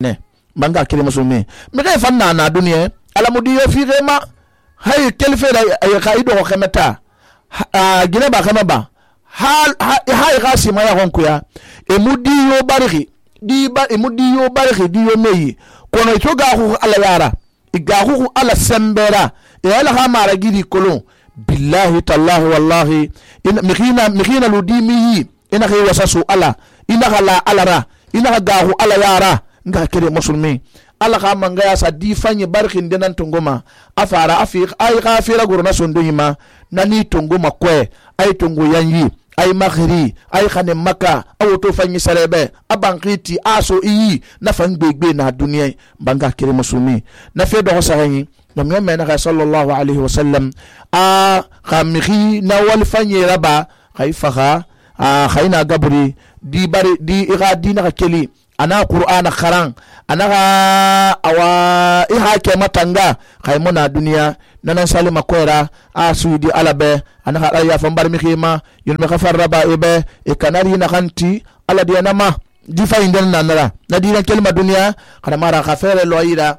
ne banga kire musulmi me ga fanna na duniya alamudi yo fi gema hay kelfe da ay khaido ko khemeta gine ba khama ba hal hay gasi ma ya honku ya emudi yo bariki di ba emudi yo bariki di yo meyi kono ito ga hu ala yara iga hu ala sembera e ala ha mara gidi kolon billahi tallahi wallahi in mikhina ludimi ina khay wasasu ala ina khala alara ina ga hu ala yara nga kire musulmi ala ka manga ya sa di fanye barkin denan tunguma afara afiq ay khafira gurna sondo yima nani tunguma kwe ay tungu yanyi ay makhiri ay khane maka awoto fanyi sarebe abankiti aso iyi na fangbegbe na duniya banga kire musulmi na fe do sahanyi namya mena sallallahu alaihi wasallam a khamikhi na wal fanye raba khaifaha khaina gabri di bari di iradi na keli ana qur'ana kharan ana awa iha ke matanga khaymuna duniya nanan salima koira asudi alabe ana ya fambar mi khima yul mi khafar raba ibe e kanari na khanti ala diana ma di fayinden nanara na dina kelma duniya kana mara khafere loira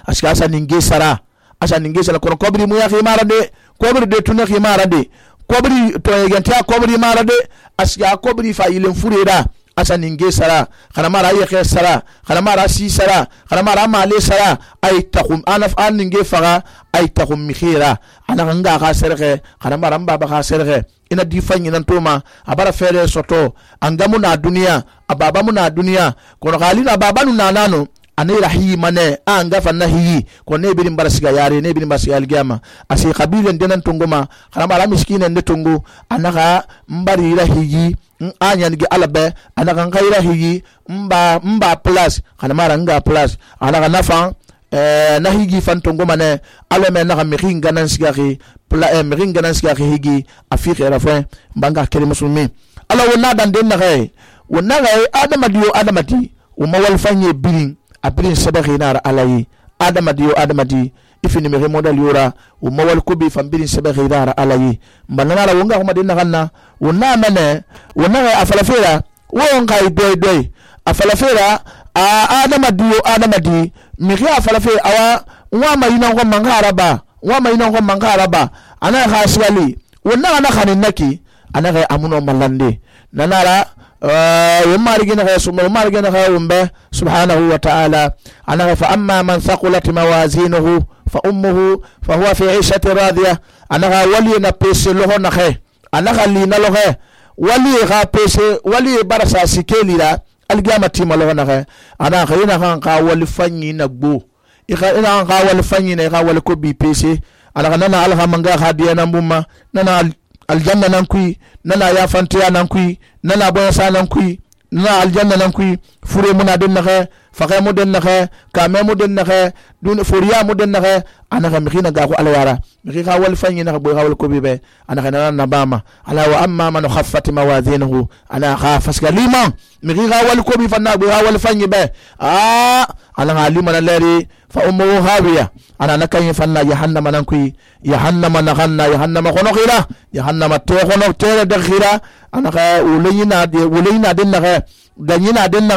aska asa ninge sara kono kobri mu ya khimara de kobri de tunna khimara de kobri to yegenta kobri mara de aska kobri fayilen fureda asa ninge sara kana mara yeke sara kana mara si sara kana mara male sara ay takhum anaf an ninge faga ay takhum mikhira ana nga ga serge kana mara mbaba ga serge ina difanyi nan toma abara fere soto angamu na duniya ababa mu na duniya kono galina baba nu nanano anira hi mane anga fanna hi ko ne birin barasiga yare ne birin barasiga algiyama asi qabilan denan tunguma kana mara miskinen de tungu anaka mbari rahiyi anyan gi alabe anaka ngaira hiyi mba plus kana mara nga plus anaka nafa na higi fan tunguma ne alame na miringa nan sigari miringa nan sigari higi afike rafa banga kere musulmi ala wona dan den na gai wona gai adamati umawal fanye birin abrin sabaghi nar alayi adamadi ifini me modal yura o mawal kubi fambirin sabaghi nar alayi banana wonga kuma dinna kanna wonna mane wonna afalafira wonga doy afalafira adamadi mi ga afalafira awa wa mayina ko mangaraba ana khaswali wonna ana khanin naki ana ga amuno malande nanara ومارجنا ومبه سبحانه وتعالى أنا فأما من ثقلت موازينه فهو في عيشة راضية أنا ولي نبيس له نخه أنا خلينا له ولي برسا سكيلي لا القيامة ما له نخه أنا خلينا ولي فني نبو إخا ولي فني نخا ولي كوبي بيسي أنا خلينا على منغا خادينا مما ننا aljanna nan kui nana ya fantiya nan kui nana boyasa nan kui nana aljanna nan kui fure muna den naxe faxe mu den naxe kame mu den naxe dun furiya mu den naxe anaxa mixina ga ko ala wara mixi xa wal fanyi naxa boy xa wal kobi be anaxa nana nabama ala wa amma man khaffat mawazinuhu ana xa faska liman mixi xa wal kobi fanna boy xa wal fanyi be ana liman leri fa ummu hawiya ana nakan fanna jahannama nan kui jahannama nakhanna jahannama khono khira jahannama te khono tere de khira ana ka ulina den na ganyina den na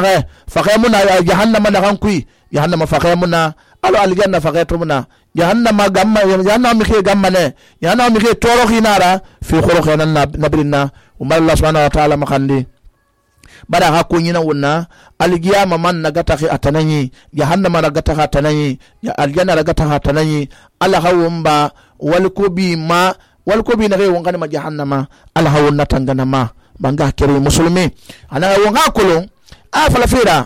fa khamuna jahannama nakhan kui jahannama fa khamuna alo aljanna fa khatumuna jahannama gamma jahannama mi khi gamma ne jahannama mi khi toro khinara fi khoro khana nabrinna umma Allah subhanahu wa ta'ala makhandi bada ha kunyina wonna algiyama man nagata khi atananyi jahannama nagata ha atananyi ya aljanna nagata ha atananyi ala hawumba walkubi na gai wongani ma jahannama ala hawunna tangana ma banga kere muslimi ana wonga kulun falafira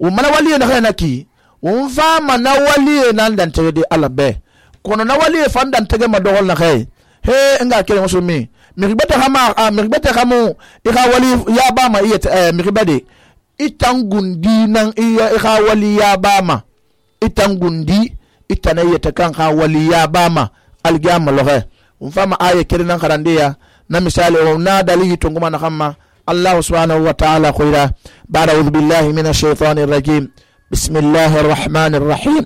umana wali na kana ki umfa mana wali nan dan tege ala be kono na wali fandan tege ma dogol na kai he nga kere muslimi miribata khamu ika wali ya bama iya miribade itangundi nan iya ika wali ya bama itangundi itanayeta kan ha wali ya bama algiyama lohe umfama aya kirinan karandiya na misali na dalili tunguma na khamma Allah subhanahu wa ta'ala khaira ba'da a'udhu billahi minash shaitanir rajim bismillahir rahmanir rahim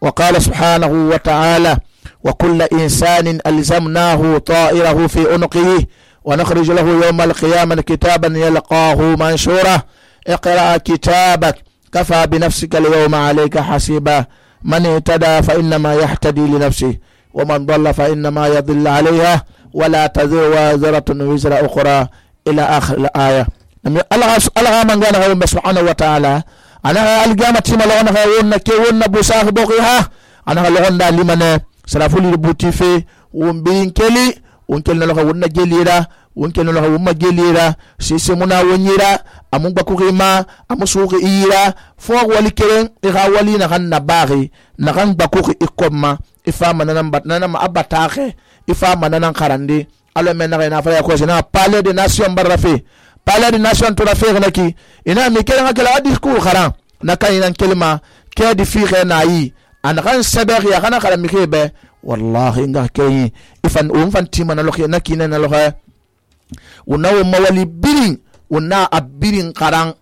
wa qala subhanahu wa ta'ala wa kullu insanin alzamnahu ta'irahu fi unqihi wa nakhrij lahu yawm al-qiyamati kitaban yalqahu manshura اقرأ كتابك كفى بنفسك اليوم عليك حسيبا من اهتدى فإنما يهتدي لنفسه ومن ضل فإنما يضل عليها ولا تزر وازرة وزر أخرى إلى آخر الآية. الله من قال سبحانه وتعالى أنا القيامة ما لغنا غيرنا كيونا بوساخ بوغيها أنا لغنا لمن سلافولي البوتي في ومبين كلي ونكلنا لغا ونا جليرا ونكلنا لغا وما جليرا سيسمونا ونيرا أمون باكوغيما أمسوغي إيرا فوق ولكرين إغا ولي نغان نباغي نغان باكوغي إكوما إفاما ننام أباتاخي إفاما ننام خاراندي ألو من نغي نافرا يكوزينا بالي دي ناسيون برافي palais de nation to la faire naki ina mi kela ngala discours kharan naka ina kelma ke di fi khana yi an ran saber ya kana kala mi kebe wallahi nga kay ifan fan tima na lokhe naki na lokhe unawo mawali birin una abirin kharan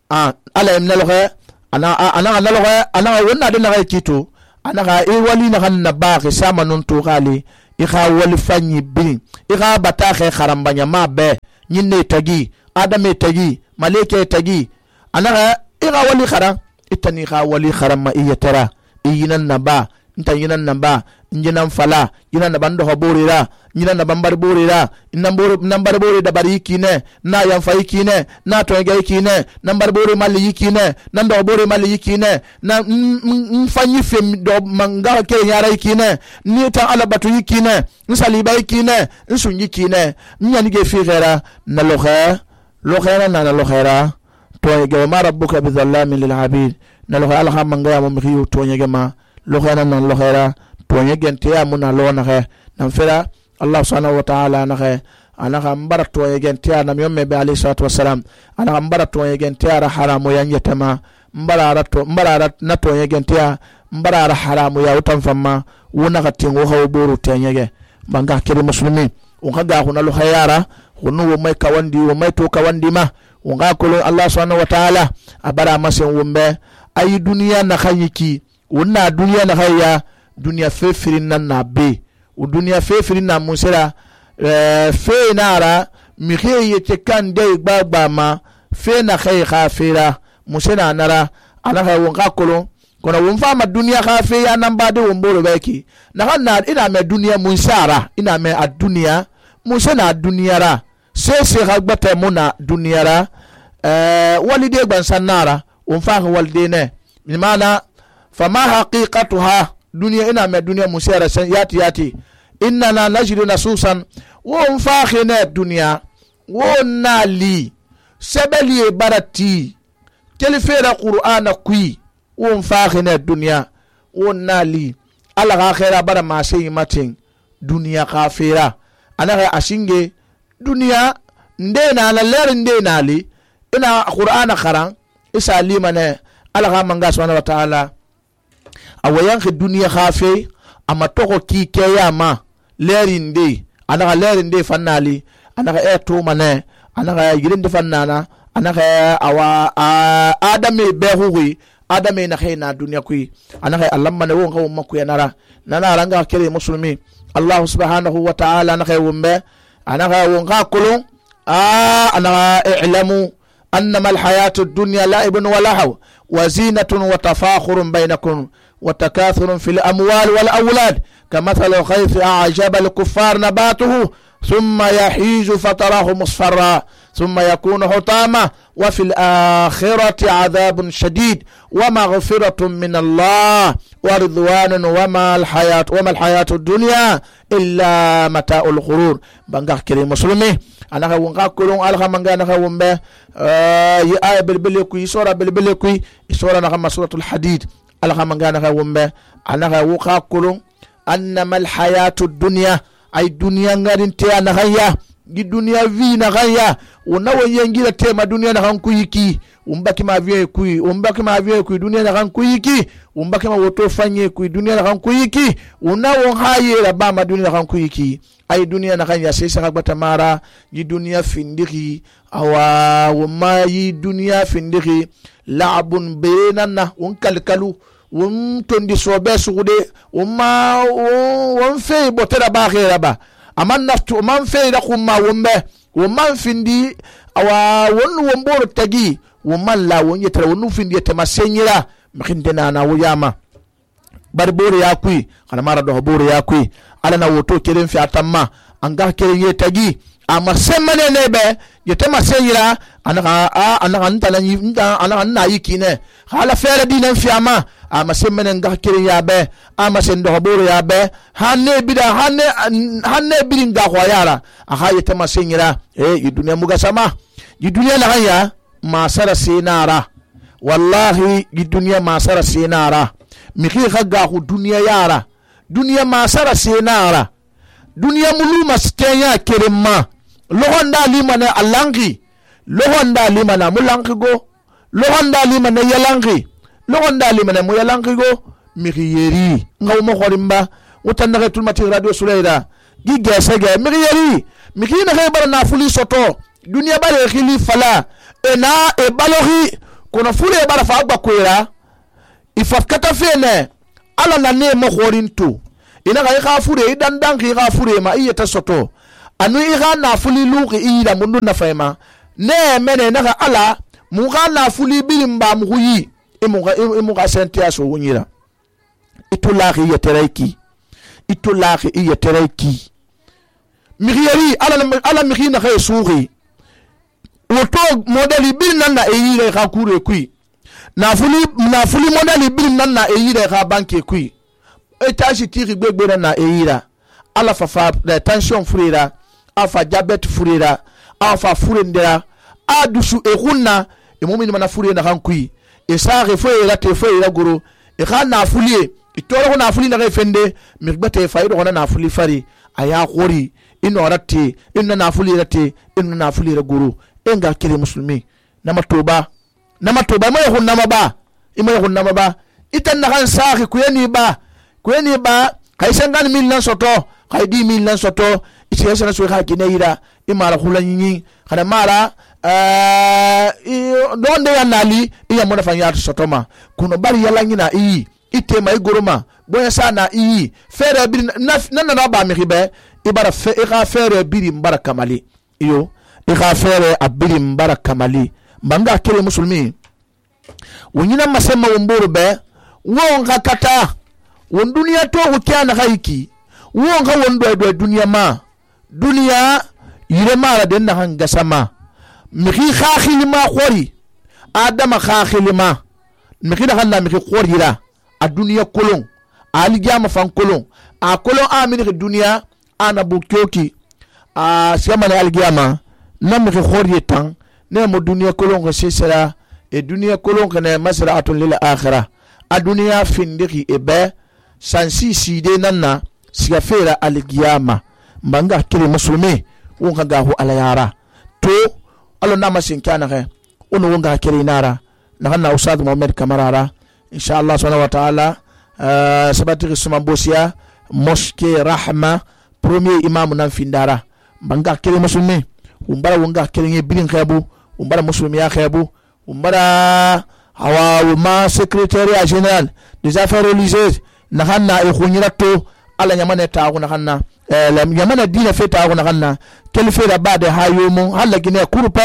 ala imna lokhe ana lokhe ana wonna de na kito ana ga e wali na kan na ba ke sama non to gali i kha wali fanyi birin i kha bata khe kharan banya ma be nyinne tagi adame tagi maleke tagi anaga ira wali khara itani kha wali khara ma iyatara iyinan naba inta yinan naba injinan fala yinan naban do borira yinan naban bar borira nambar bori da bari kine na yan fai kine na to ga kine nambar bori mali kine nan do bori mali kine na fanyi fem do manga ke yara kine ni ta alabatu kine nsali bai kine nsunyi kine nyani ge fi gera na lo khaira na lo khaira to ga ma rabbuka bizallamin lil abid na lo khaira ha manga ya mo mi to nyege ma lo khaira na lo khaira to nyege te ya muna lo na khe na fira Allah subhanahu wa ta'ala na khe ana ga mbara to nyege te ya na mi yomme be ali salatu wassalam ana ga mbara to nyege te ya haramu ya nyetama mbara na to nyege te ya mbara haramu ya utan famma wona ga tingo ha boru te nyege banga kiri muslimin on ga huna lo khayara hunu wo mai kawandi wo mai to kawandi ma on ga ko Allah subhanahu wa ta'ala abara masen wumbe ayi duniya na khayiki wonna duniya na khayya duniya fefirin nan na be o duniya fefirin na musira fe nara mi kheye te kan de gbagba ma fe na khay khafira musina nara ana ha won ga ko kono won fa ma duniya khafe ya nan ba de won boro beki na kan na ina me duniya munsara ina me a duniya musina duniya ra se hagbata muna duniyara walide ban sanara on fa walide ne mana fama haqiqatuha duniya ina me duniya musira san yati inna la najru nasusan on fa khine duniya won nali sebeli barati telefera qur'ana kui on fa khine duniya won nali ala khaira bara ma sey matin duniya khafira ana ashinge duniya ndena la ler ndena li ina qur'ana kharan isa limane ala manga subhanahu wa ta'ala awayan khi duniya khafe ama toko ki kiyama lerinde ana lerinde fannali ana to mane ana yirinde fannana ana awa adame behuwi adame na khayna duniya kui ana Allah mane won ko makku yanara nana ranga kire muslimi Allah subhanahu wa ta'ala na khaywumbe أنا ونقول أنا اعلموا أنما الحياة الدنيا لعب ولهو وزينة وتفاخر بينكم وتكاثر في الأموال والأولاد كمثل الغيث أعجب الكفار نباته ثم يحيج فتراه مصفرا ثم يكون حطاما وفي الآخرة عذاب شديد ومغفرة من الله ورضوان وما الحياة الدنيا إلا متاع الغرور بانغا كريم مسلمي أنا وانغا كلون ألغا مانغا نغا ومبه آية بالبلكوي سورة بالبلكوي سورة نغا سورة الحديد ألغا مانغا نغا ومبه أنا وانغا كلون أنما الحياة الدنيا أي دنيا غادين تيا نغايا gi dunia vi na gaya unawo yengira tema dunia na hankuyiki umbaki ma vie kui dunia na hankuyiki umbaki ma woto fanye kui dunia na hankuyiki unawo haye la bama dunia na hankuyiki ay dunia na gaya sesa hagbata mara gi dunia findiki awa wama yi dunia findiki la'abun benana unkalkalu tondi sobe sugude won fe botera ba khira ba aman naftu man fe da kuma wombe womman findi awa won womboro tagi wo man la wo nyetara wo nufin yete masenyira mkhinde na wo yama bar bore ya kui kana mara do bore ya kui ala na woto keren fi atamma anga keren yetagi ama semmane nebe yete masenyira anaka na yikine hala fere dinan fi ama semmane nga keren ya be sendo bore ya be hanne bidin ga khoyara aha yete masenyira yi duniya muga sama yi duniya na hanya masara sinara wallahi yi duniya masara sinara miki khaga khu duniya yara duniya masara sinara duniya mulu maskenya kerema lohonda limana alangi lohonda limana mulangi go lohonda limana yalangi lohonda limana mu yalangi go miki yeri ngawmo khorimba utanna tulmati radio sulaida gi gesege miki yeri miki na khaybar na fuli soto duniya bare khili fala ena e balogi kono fure bara fa agba kwera ifaf kata fene ala na ne mo khorintu ina ga kha fure idan dan ki kha fure ma iyata soto anu i kha na fuli luqi ida mundu na fayma ne mene na ga ala mu kha na fuli bilimba mu yi imu ga sentia so wunyira itulahi yetereki migiyari ala migina khay suuri woto modeli bil nan na eyire kha kure kui na fuli modeli bil nan na eyire kha banke kui etashi tiri gbegbe na eyira ala fa tension furira afa diabete furira afa furendera adusu ehunna emomini mana furira na kan kui esare foira te foira guru e kha na fulie itoro na fuli na fende migbete faido na fuli fari aya khori inorati inna na fuli rati inna na fuli guru enga kire muslimi namatoba moy hunna maba imoy hunna maba itan na kan saaki kuyeni ba kay sangan min lan soto kay di min lan soto iti yasana so ka kineira imara khulanyi kana mara donde yanali iya mona fanya soto ma kuno bari yalanyi na ite mai goroma boya sana fere bir na ba mi ribe ibara fe ira fere biri mbaraka mali iyo ira fere abiri mbaraka mali mbanga kire musulmi wonyina masema womboro be wonga kata won duniya to wukyana haiki wonga wondo duniya ma duniya yire mara den na hanga sama miki khakhili ma khori adama khakhili ma miki da hanna miki khorira a duniya kolon aligama fan kolon a kolon amini duniya ana bukyoki a siamane aligama nam miki khori tan ne mo duniya kolon ko sesera e duniya kolon ko ne masra'atun lil akhirah a duniya findiki ebe sansi side nanna siga fera aligiyama mbanga kire musulmi wonga gahu alayara to alo nama sinkana he ono wonga kire nara na Ustad Muhammad Kamarara inshallah subhanahu wa ta'ala sabati suma bosia mosquée Rahma premier imam nan findara mbanga kire musulmi umbara wonga kire bilin khabu umbara muslimi ya khabu umbara hawa ma secrétaire général des affaires religieuses nahanna e khunyirato ala nyamane tawo nahanna nyamane dina fe tawo nahanna kelfe da bade hayomo hala gine kurpe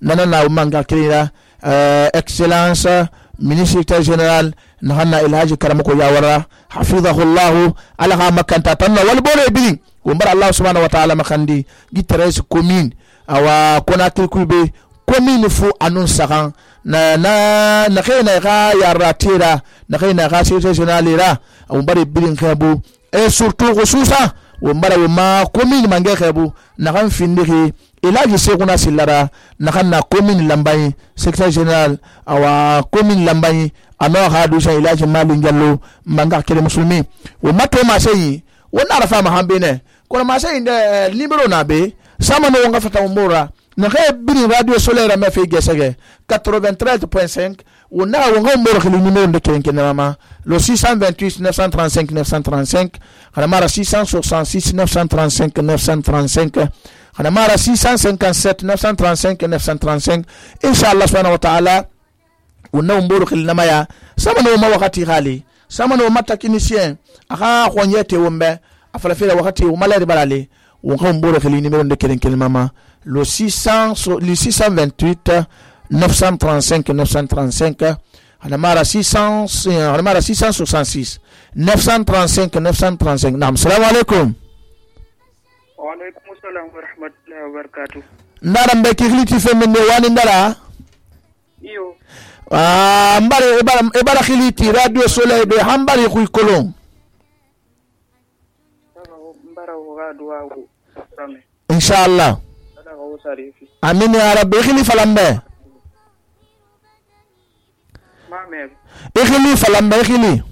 nanana manga kirira excellence ministre général nahanna ilhaji karamako yawara hafizahu allah ala makanta tanna wal bole bilin umbara allah subhanahu wa ta'ala makandi gitres commune awa konakri kulbe commune fu anun sagan na khayna ga yaratira na khayna ga secrétaire umbare bilin khabu et surtout khususa umbara ma commune mange khabu na kan findiki ilaji seguna silara na kan na commune lambayi secrétaire général awa commune lambayi ano hadu sha ilaji malin jallo manga kele muslimi o mato ma sayi wona rafa ma hambene kono ma sayi de libero na be sama no nga fata umbora na khay biri radio solaire ma fe gesege 93.5 on a un numéro de Kenkenama, le 628 935 935, Hanamara 666 935 935, Hanamara 657 935 935, Inch'Allah subhanahu wa ta'ala, on a un numéro Namaya, Samano Mawakati Hali, Samano Matakinicien, Aha Wanyete Wombe, Afalafela Wakati, Malari Balali, on a un numéro de Kenkenama, le 628 935 935 hanamara 666 935 935. Naam, assalamu alaikum. Wa alaikum assalam wa rahmatullahi wa barakatuh. Ndara mbeki khiliti femene wani ndara Iyo mbara khiliti radio soleil be hambari khu kolon mbara wa duwa wu rame inshallah. Amin ya rabbi. Khili falambe mame ikhili falambe ikhili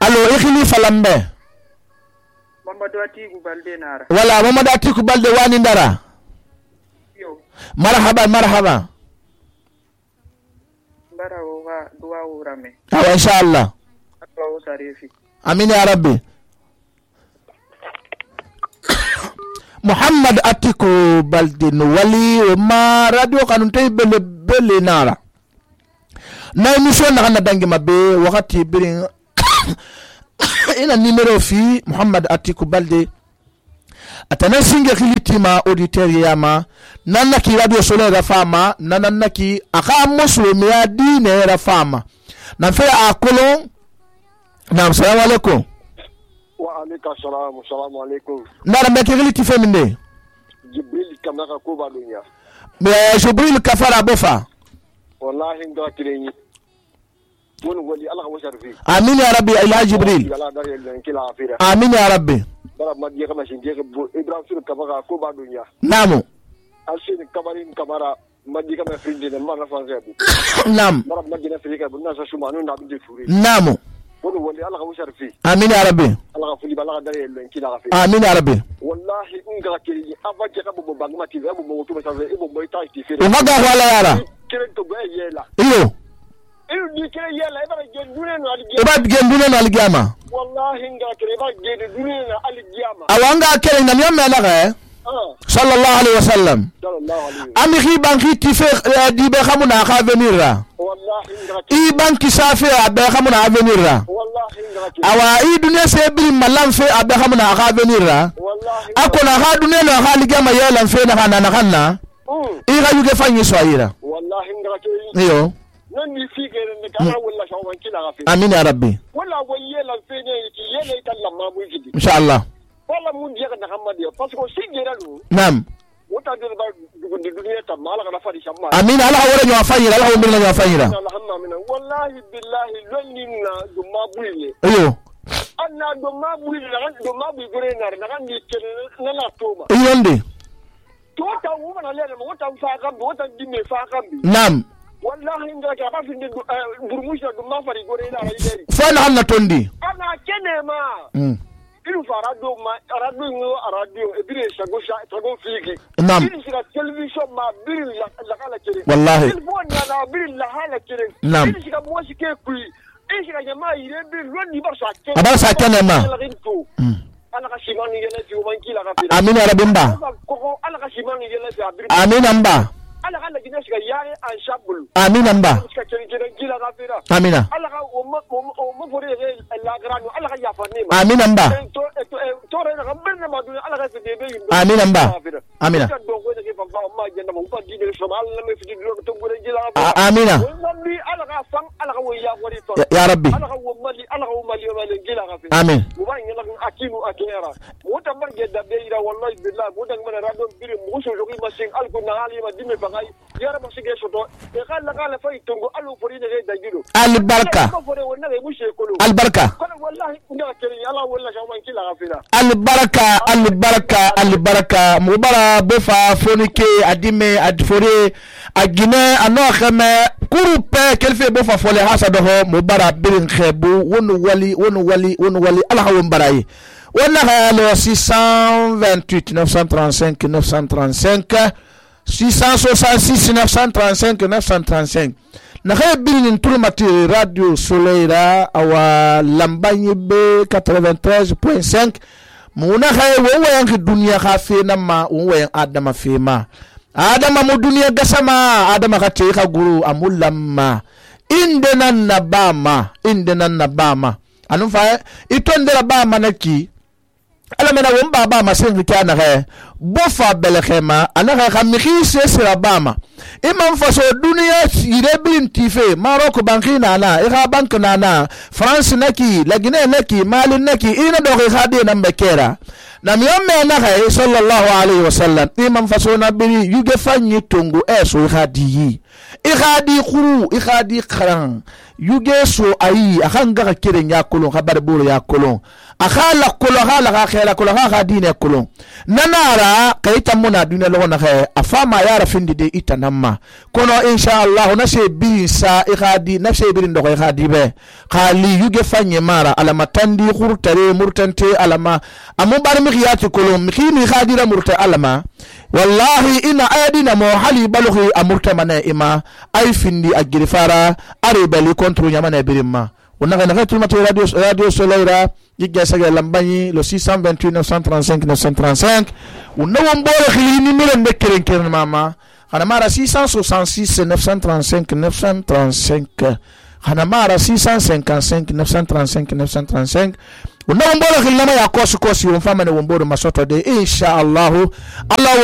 allo ikhili falambe Mamadu Atiku Balde nara wala Mamadu Atiku Balde wani ndara yo marhaba mbara wa duwa wu rame awa inshallah. Amin ya rabbi. Muhammad Atiku Balde no wali ma radio kanunte bele nara na emission na kana dangi mabe wakati birin ina numero fi Muhammad Atiku Balde atana singe khilitima auditeur yama nanna ki radio soleil rafama nanna ki aka muslimi ya dine rafama na fe akolo. Naam, assalamu alaikum. Wa alaikum assalam, assalamu alaikum. Ndara mbeki khiliti feminde Jibril kamaka ko ba dunya Jibril kafara bofa wallahi nga kirenyi won wali Allah wa sharfi. Amin ya rabbi. Ila Jibril. Amin ya rabbi. bara madiya kama shinge Ibrahim kamaka ko ba dunya namu alshin kamarin kamara madiya kama frinde na mara fanze bu nam bara madiya frika bu nasa shumanu na bi turi namu won wali Allah wa sharfi. Amin ya rabbi. Allah fuli bala dare len kila gafi. Amin ya rabbi. Wallahi nga kiri avaje ka bu bangma TV bu mo to mesa ibo mo ita TV umaga wala yara kire to be yela iyo ni kire yela ibara gendune no aligi iba gendune no aligama wallahi nga kire ibara gendune no aligama awanga kere na myamma na ga sallallahu alaihi wasallam ami khiban khiti fe di be khamuna kha venira wallahi nga i banki safi abe khamuna avenira wallahi nga awa i dunya se bi malam fe abe khamuna kha venira wallahi akona kha dunya no kha ligama yela fe na kana i ga yuge fanyi soira wallahi nga kire iyo nan ni fikere ne kana walla shawan kila gafi. Amin ya rabbi. Walla wayela fe ne ki yele talla ma mu gidi inshallah. Walla mun je ka Muhammad ya parce que sigera lu Naam. wota de ba dugundi duniya ta mala kana fadi shamma Amin. Allah wala nyo afanyira, Allah wala nyo afanyira. Alhamdulillah wallahi billahi lonninna do mabuile Iyo anna do mabuile do mabu gore na kan ni kene na la toma iyonde tota wuma na lele wota fa kambi wota dimme fa kambi. Naam. Wallahi nga ka ba finde burmusha do ma fari gore na raideri Fana hanna tondi ana kene ma ilu fara do ma radio e bire shago fiki Naam. ilu sika television ma bire la kala kere Wallahi. ilu bona na bire la hala kere Naam. ilu sika mo sike kui ilu sika jama ire bire loni ba sa kene Abara sa kene ma. ana ka shimani yele fi man kila ka fi Amin ya rabbi mba. ko ana ka shimani yele fi abiri Amin mba. ala ka lagina sika yare an shabul Amin mba. sika kere kila ka fi Amina. ala ka o mo fori la grano ala ka yafa ni ma Amin mba. to re na kambe ma dun ala ka se bebe Amin mba. Amina. Amina. Ya rabbi. Amin. Albarka. Albarka. Albarka. Mubara bofa fonike adime adfore agine anokheme kurupe kelfe bofa fole hasa doho mubara birin khebu wonu wali alhawum barayi wala halo 628 935 666 935 na khay birin turmati radio soleira awa lambagne be 93.5 muna khay wo yang dunia khafe na ma wo yang adama fema adama mu dunia gasama adama khache kha guru amulamma indenan nabama anu fa itondera bama naki ala mena won baba masen kana he bo fa belkhema ana ga mixi se sira bama imam faso duniya yire bin tife Morocco banki nana ira bank nana France naki lagine naki Mali naki ina do ga de nan bekera na miyamme na ga sallallahu alaihi wasallam imam faso na biri yuge fanyi tongo eso khadi ikhadi khuru ikhadi kharan yuge so ayi akan ga kiren ya kolon khabar buru ya kolon akhala kolon hala ga khela kolon ga dine kolon nanara kaita muna duniya lo na khay afama ya rafindi de itanamma kono insha Allah na se bi sa ikhadi na se birin do ikhadi be khali yuge fanye mara alama tandi khurtare murtante alama amu bar mi khiyati kolon mi khini khadira murta alama wallahi ina ayadina mo hali balughi amurta mana ima ay findi agirfara are bali kontro nyamana birimma onaga na tulma to radio Soleira yigga saga lambanyi le 628 935 935 unawo mbore khili numéro ndekeren keren mama ana mara 666 935 935 ana mara 655 935 935 unawo mbore khili nama ya kosi umfama ne wombore masoto de insha Allah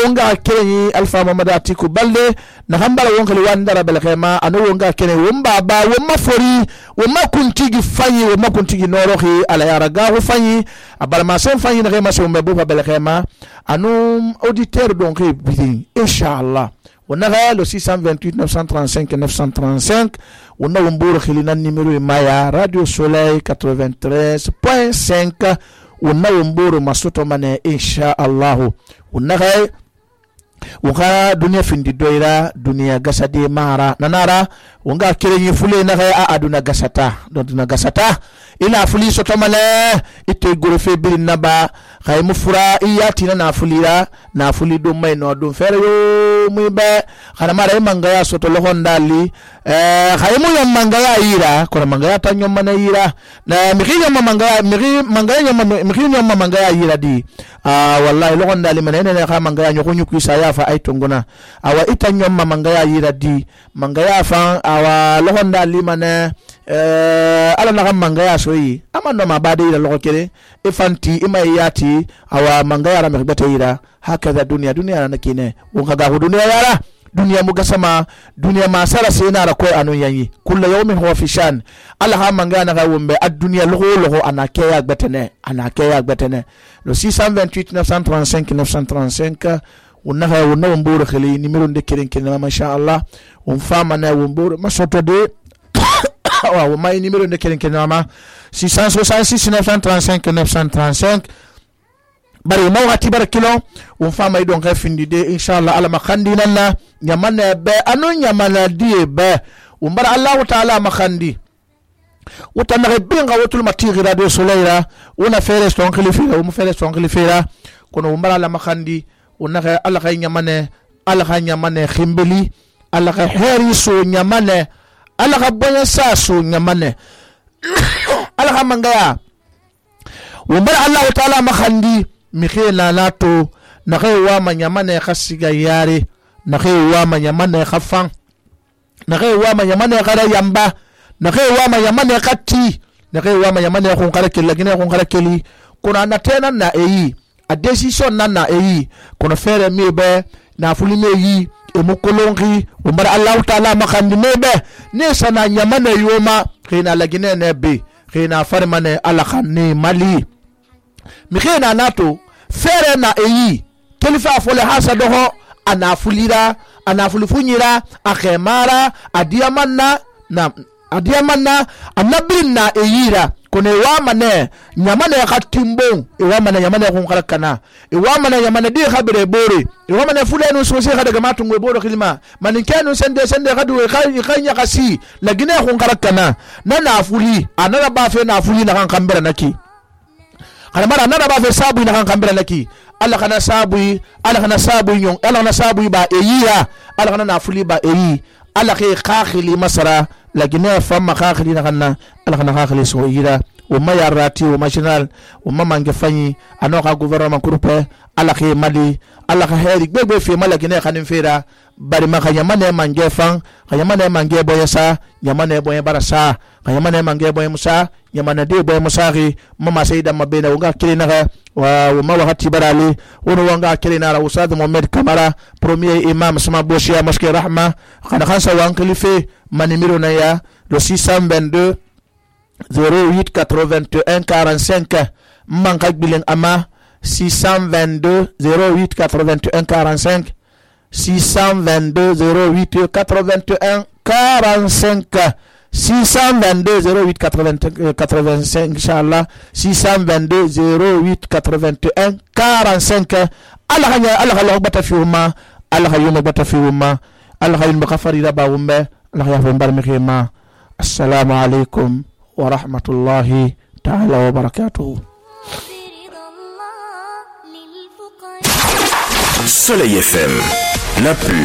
wonga kenyi alfa mamadati ku balde na hambara wonga wandara belkhema anu wonga kenyi womba ba womma fori womma kuntigi fanyi womma kuntigi norohi ala yaraga fanyi abal ma sen fanyi na ma se womba bu belkhema anu auditeur donc bidin insha Allah onaga le 628 935 935 on a wombore khili na numéro maya radio Soleil 93.5 on a wombore masoto mane insha Allah onaga uka dunia findi doira dunia gasade mara nanara unga kirenyi fule na a aduna gasata duna gasata ila fuli soto male ite gorofe bil naba khay mufura iyati na fulira na fuli do may no do fere yo muy be khana mara mangaya soto lohon dali khay mu yam mangaya ira ko mangaya ta nyom mana ira na mikinya mangaya mikinya mangaya ira di wallahi lohon dali manene na kha mangaya nyoko nyuku saya fa ay tongona awa ita nyom mangaya ira di mangaya fa awa lohon dali mane ala na mangaya soyi amando mabade ila loko kere ifanti imayati awa mangaya ra mekbata ira hakaza dunia na kine unkaga dunia yara dunia mugasama dunia masara sena ra ko anu yanyi kullu yawmin huwa fi shan ala ha mangaya na wumbe ad-dunya logo anake ya gbetene le 628 935 935 unaha wombore khali numéro de keren masha Allah fama na wombore masoto de wa mai numéro de keren ma 666 935 935 bari mawati barakilo fama idon ka findi de inshallah ala makhandi nalla nyamana be anu nyamana die be umbara Allah taala makhandi utana binga wotul matiri radio Soleira una fere son khilifira kono umbara ala makhandi unaga ala khay nyamane khimbeli ala khay heri so nyamane ala khay bonya sa so nyamane ala khay mangaya umbara Allah taala makhandi mikhela lato na khay wa manyamane khasiga yare na khay wa manyamane khafan na khay wa manyamane khara yamba na khay wa manyamane khati na khay wa manyamane khonkara kelagine khonkara keli kuna na tena na eyi a decision nana eyi kono fere mebe na fuli meyi e mukolongi umbara Allah taala makhandi mebe ne sana nyamane yoma khina lagine nebe khina farmane ala khanni mali mi khina nato fere na eyi kelifa fole hasa doho anafulira anafulifunyira akhemara adiamanna anabinna eyira kone wamane nyamane khatimbo wamane nyamane khonkarakana wamane nyamane di khabire bore wamane fulenu sose khadaga matungwe boro khilma maninkenu sende khadu khanya kasi lagine khonkarakana nana afuli anara bafe na afuli na kambera naki mara nana bafe sabu na kambera naki ala kana sabu yon ala na sabu ba eyira ala kana na afuli ba eyi ala khi khakhili masara lagine fama khakhili na kana ala kana khakhili so yira ma yarati o ma general o ma mange fanyi ano ka gouvernement groupe ala ke mali ala ka heri gbegbe fe mala gine khanin fera bari ma khayamane mange fan khayamane mange boyasa yamane boye barasa khayamane mange boye musa yamane de boye musari mama sayida mabena wonga kilina wa ma wakati barali wono wonga kilina ra ustad Mohamed Kamara premier imam sama boshia mosquée Rahma khana khansa wan khalife manimiro na ya le 622 08 81 45 manka bilen ama 622 08 81 45 622 08 81 45 622 08 85 inchallah 622 08 81 45 Allah bata fi umma Allah yuma bata fi umma Allah yuma kafari da ba umma Allah ya fa bar mikema assalamu alaikum wa rahmatullahi ta'ala wa barakatuh. Soleil FM, la plus